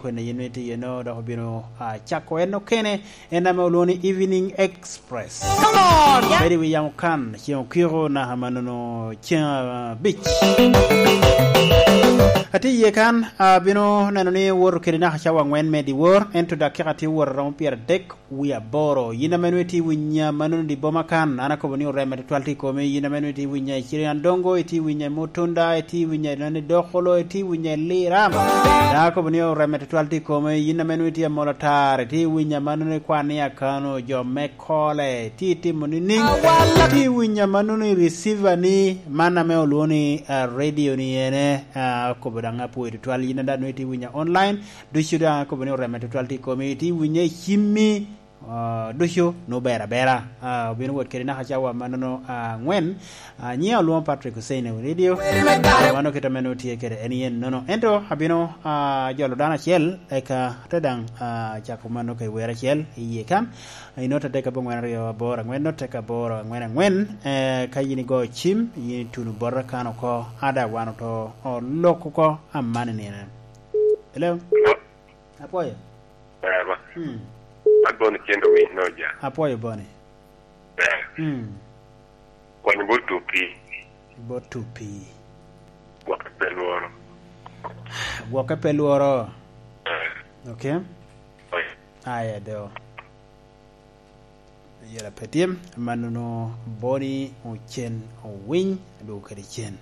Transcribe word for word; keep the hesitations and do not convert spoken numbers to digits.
Kwene yen itye iye no, dok obino, ah, cako en okene, en ame olwoŋo ni Evening Express. Come on, yeah. Bedo i wi yamo kan, ceŋ okiko naka mannono ceŋ, ah, abic. Atye iye kan, abino neno ni woto kede naka cawa angwen me dyewor, ento dakika tye wot aromo pyeradek wie aboro. Yin ame nwoŋo itye i winya mannono i boma kan, an akobo ni oreme tutwal tye i komi. Yin ame nwoŋo itye i winya i Ciryandongo, itye i winya i Mutunda, itye i winya i Nani Dokolo, itye i winya i Liram. Daŋ akobo ni oreme tutwal tye i komi. Yin ame nwoŋo itye i Amolo Atar, itye i winya mannono i kwan ni Akano, jo me Kole, itye itimo nining? Itye i winya mannono i receiver ni, man ame olwoŋo ni, ah, radio ni ene, ah, akobo daŋ apwoyo tutwal. Yin daŋ nwoŋo itye i winya online, ducu daŋ akobo ni oreme tutwal tye i komi. Itye i winya i cimmi, ah, ducu nwoŋo ber abera. Ah, obino wot kede naka cawa mannono, ah, angwen. Ah, nyiŋa olwoŋo Patrick Hussein i radio. Mano kit ame nwoŋo tye kede en yen nono. Ento abino, ah, jolo dano acel, eka te daŋ, ah, cako mannono ka i wer acel i yie kan. Inotte adek abongwen aryo aboro angwen, notte ka aboro angwen angwen. Eh, ka yin igoyo cim, yin ituno bota kan oko, ada wan oto olok oko, amani nino. Hello? Hello? Apwoyo. Ber ba. Hmm. An Boni Cen Owiny Noja. Apwoyo Boni. Ber. Hmm. Kwany bot Tupi. Bot Tupi. Gwokke pe lworo. Gwokke pe lworo. Eh. Okay. Oi. Aya do. Yela pe tye, mannono Boni Ocen Owiny, adwogo kede cen.